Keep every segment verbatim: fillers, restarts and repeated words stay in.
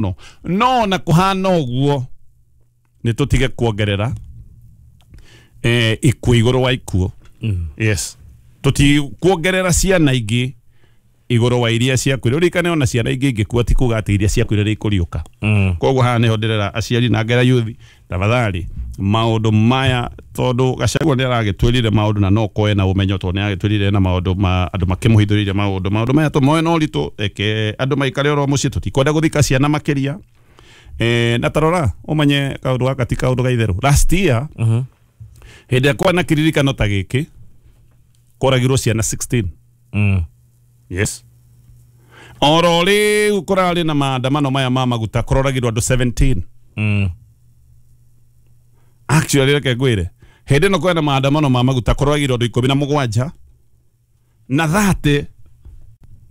Mũno no na kũhana ũguo nĩ tũtige kuongerera eh, ikuũ igũrũ wa ikuũ. Yes, tũtikuongerera ciana ingĩ igũrũ wa iria ciakuire. Ũririkane ona ciana ingĩ ingĩkua ti kuga atĩ iria ciakuire nĩ ikũriũka. Koguo haha nĩho ndĩrera aciari na ngera youth, tafadhali, maũndũ maya, tondũ Gachagua nĩ aragĩtwĩrire maũndũ na no koe na ũmenyo, tondũ nĩ aragĩtwĩrire na maũndũ ma andũ makĩmũhithũrĩire maũndũ maũndũ maya tũmoe na ũritũ. Reke andũ maikare oro mũciĩ, tũtikwenda gũthika ciana makĩria. eh, na tarora ũmenye kaũndũ gaka ti kaũndũ ga itherũ. Last year hĩndĩ ĩrĩa kwarĩ na kĩririkano ta gĩkĩ kũragirwo ciana sixteen. Yes, oro rĩu kũrarĩ na maandamano maya ma maguta kũroragirwo andũ seventeen. Actually, reke ngwĩre, hĩndĩ ĩno kwĩna maandamano ma maguta kũroragirwo andũ ikũmi na mũgwanja na thate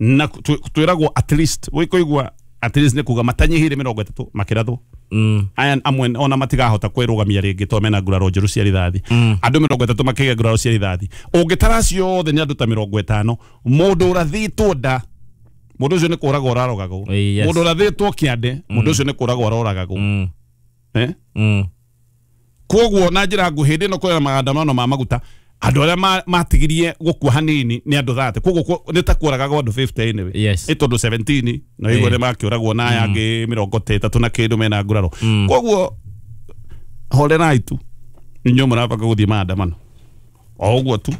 na tw- twĩragwo at least wĩkũigua at least nĩ kuga matanyihĩire mĩrongo ĩtatũ makĩrathwo. Aya amwe ona matigahota kwĩrũgamia rĩngĩ tondũ mena nguraro njũru cia rithathi. Andũ mĩrongo ĩtatũ makĩgĩa nguraro cia rithathi, ũngĩtara ciothe nĩ andũ ta mĩrongo ĩtano. Mũndũ ũrathĩtwo nda, mũndũ ũcio nĩ kũragwo ũrarogagwo. Yes. Mũndũ ũrathĩtwo kĩande, mũndũ ũcio nĩ kũragwo aroragagwo. Eh? Koguo na njĩra nguhĩ, hĩndĩ ĩno kwĩna maandamano ma maguta, andũ arĩa ma- matigirie gũkua hanini nĩ andũ thate. Koguo kũ- nĩ ta kũragagwo andũ fifty anyway. Yes. Ĩ tondũ seventeen na igua Eh. nĩ makĩũragwo na aya angĩ mĩrongo ta ĩtatũ na kĩndũ mena nguraro. Koguo horerai tu, inyuĩ mũrabanga gũthiĩ maandamano o ũguo tu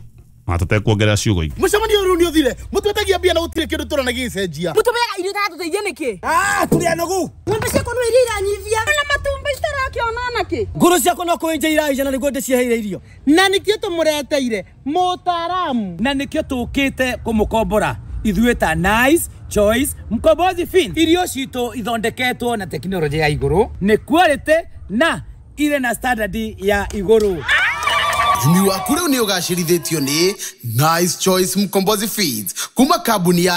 na tũtekuongerera ciugo ingĩ. Mũcemanio ũyũ rĩu nĩ ũthire, mũtwĩtagia mbia na gũtirĩ kĩndũ tũrona gĩgĩcenjia. Mũtũmeaga irio itatũteithia nĩkĩ? Ah, tũrĩ anogu. Ng'ombe ciakwa no iria iranyivia na matumbĩ itarakĩona nakĩ. Ngũrũ ciakwa no kũenja iraija na nĩguo ndĩciheire irio. Na nĩkĩo tũmũreteire mũtaaramu. Na nĩkĩo tũkĩte kũmũkombora ithuĩ ta Nice Choice Mkombozi Feeds. Irio citũ ithondeketwo na tekinoronjĩ ya igũrũ, nĩ quality na irĩ na standard ya igũrũ. Ũrĩmi waku rĩu nĩ ũgacĩrithĩtio nĩ Nice Choice Mkombozi Feeds kuma kambuni ya